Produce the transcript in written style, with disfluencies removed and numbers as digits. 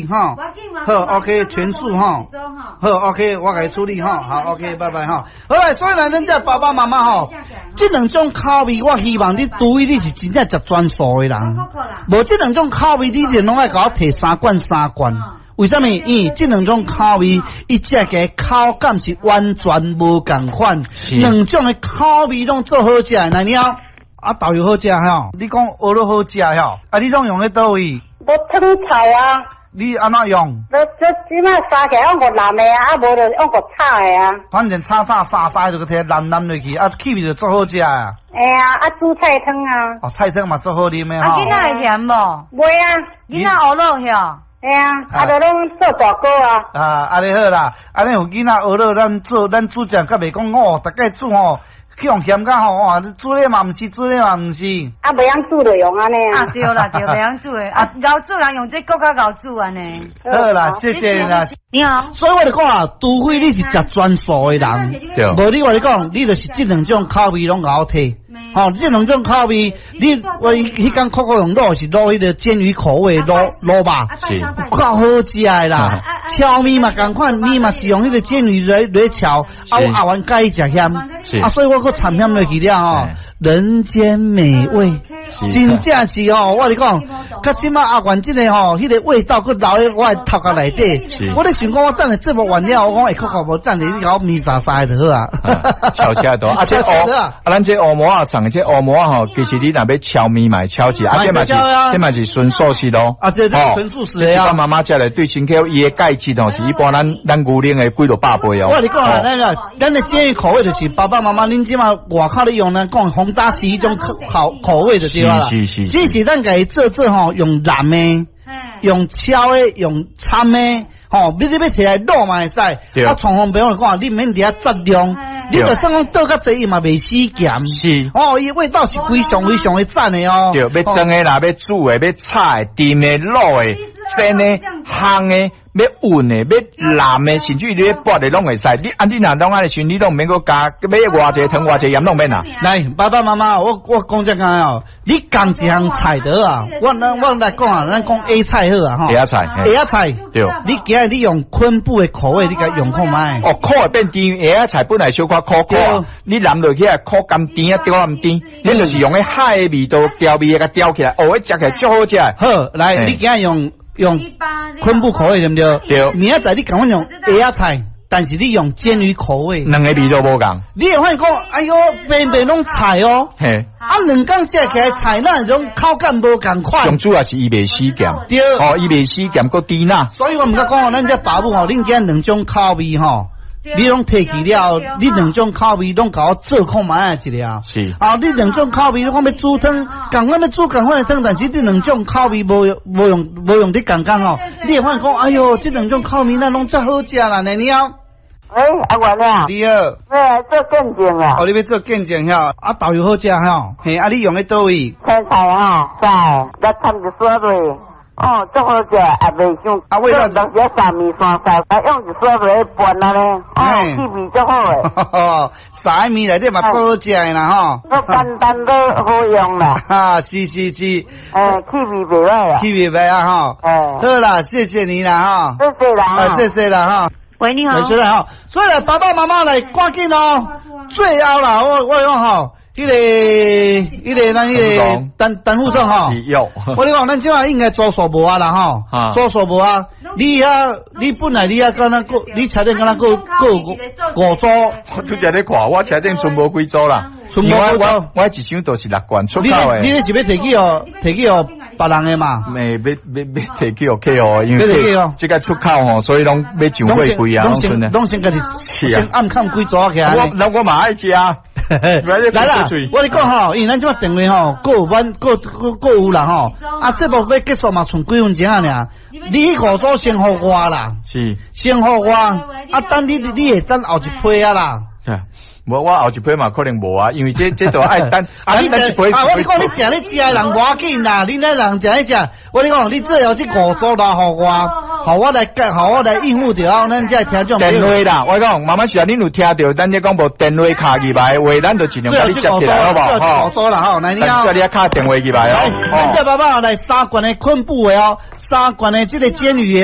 吼。好，OK，全素吼。好，OK，我共伊處理吼。好，OK，拜拜吼。好來，所以呢，恁這爸爸媽媽吼，這兩種口味，我希望你除非你是真正食全素的人，無這兩種口味，你就攏愛共我提三罐三罐。為啥物？因為這兩種口味，伊食起來口感是完全無仝款。兩種的口味攏做好食的，來你好，啊豆油好食吼，你講蚵仔好食吼，啊你攏用咧佗位？無湯菜啊。你按怎用？這這這擺沙起來用個淋的啊，啊無就用個炒的啊。反正炒炒沙沙就提淋淋落去，啊氣味就足好食啊。會啊，啊煮菜湯啊。哦，菜湯嘛足好啉的吼。啊，囡仔會鹹無？袂啊。囡仔蚵仔曉。會啊，啊就攏做大鍋啊。啊，按呢好啦，按呢有囡仔蚵仔，咱做咱煮食，較袂講哦，逐擺煮吼，去予嫌甲吼，哇，煮咧嘛毋是，煮咧嘛毋是。啊，袂曉煮就用按呢啊。啊，對啦對，袂曉煮的，啊，𠢕煮人用這閣較𠢕煮按呢。好啦，謝謝啦。你好。所以我就講啊，除非你是食全素的人，無你我你講，你就是這兩種口味攏𠢕提。吼，這兩種口味，你我彼工扣扣用滷是滷彼個鰹魚口味滷滷肉，夠好食的啦。蕎麵嘛仝款，麵嘛是用彼個鰹魚來來炒，啊我阿元佮意食鹹，啊所以我閣摻鹹落去了吼，人間美味，真正是吼，我跟你講，較這馬阿元這個吼，彼個味道閣留佇我的頭殼內底。我咧想講，我等下節目完了，我講會扣扣無等下你共我麵沙沙就好啊。炒起來多，啊這烏啊，咱這烏饃仔送的這烏饃仔吼，其實你若欲蕎麵嘛會蕎一，啊這嘛是這嘛是純素食咯。啊，這純素食的啊。媽媽食來對身體伊的鈣質吼，是一般咱咱牛奶的幾落百倍哦。我跟你講啊，咱個咱的建議口味就是爸爸媽媽，恁這馬外口咧用呢，講宏達是一種口口味就對啦。是是是。只是咱家己做做吼，用淋的，用炒的，用摻的，吼，你你欲提來滷嘛會使。啊，創方便我講，你毋免佇遐節量，你就算講倒較濟，伊嘛袂死鹹。是。哦，伊味道是非常非常的讚的哦。對，欲蒸的啦，欲煮的，欲炒的，甜的、滷的、煎的、烘的，欲勻的，欲淋的，甚至於你欲撥的攏會使。你啊，你若攏按呢時，你攏毋免閣加，欲偌濟糖偌濟鹽攏免啊。來，爸爸媽媽，我我講這個哦，你仝一項菜得啊，我我來講啊，咱講 A 菜好啊，吼。 A 菜，A 菜，對。你今日你用昆布的口味，你共用看覓？哦，苦會變甜，A 菜本來小可苦苦，你淋落去啊，苦甘甜啊，調甘甜，你就是用彼海的味道調味共調起來，哦，彼食起來足好食。好，來，你今日用用昆布口味對毋對？對。明仔載你共阮用蚵仔菜，但是你用鰹魚口味，兩個味都無仝。你會發現講，哎喲，平平攏菜哦。嘿。啊，兩工食起來菜，那種口感無仝款。上主要是伊袂死鹹。對。哦，伊袂死鹹，閣甜啦。所以我毋敢講哦，咱這爸母吼，恁今兩種口味吼，你攏提起了，你兩種口味攏共我做看覓一下。是。啊，你兩種口味，你講欲煮湯，仝款欲煮仝款的湯，但是這兩種口味無用無用無用佇仝仝吼，你會發現講，哎喲，這兩種口味咱攏遮好食啦，呢你好。喂，阿元啊。你好。欲來做見證啊。哦，你欲做見證吼，啊豆油好食吼，嘿，啊你用咧佗位？青菜吼，菜，來摻一撮落。哦，足好食，也袂傷。啊，味道。當時三麵山菜，啊用一撮落去拌按呢，哦，氣味足好的。三麵內底嘛足好食的啦吼。足簡單都好用啦。哈，是是是。哎，氣味袂歹啊。氣味袂歹吼。哎。好啦，謝謝你啦吼。謝謝啦。啊，謝謝啦吼。喂，你好。所以所以來爸爸媽媽來趕緊哦。最後啦，我我講吼。彼個彼個咱彼個陳陳副總吼，我你講，咱這馬應該組數無啊啦吼，組數無啊。你遐你本來你遐敢若閣，你車頂敢若閣閣五組。我拄才咧看，我車頂賰無幾組啦。賰無幾組，我一箱都是六罐出口的。你你是欲提去予提去予別人的嘛？沒，欲欲欲提去予客戶，因為這個出口吼，所以攏欲上貨櫃啊，攏先攏先家己先暗崁幾組起來。我那我嘛愛食。來啦，我跟你講吼，因為咱這馬電話吼，閣有阮閣閣閣有啦吼，啊，節目欲結束嘛，賰幾分鐘啊爾。你彼五組先予我啦，是，先予我，啊，等你你會等後一批啊啦。無，我後一批嘛可能無啊，因為這這都愛等。啊，你啊，我你講你定咧食的人無要緊啦，你那人定咧食，我你講你最後這五組留予我。予我來予我來應付著哦，咱這聽眾。電話啦，我講慢慢時啊，恁有聽著，咱這廣播電話敲入來的話，咱就盡量共你接起來，好無？吼，五組啦吼，來你哦。叫你敲電話入來哦。咱這爸爸來三罐的昆布的哦，三罐的這个煎魚的哦。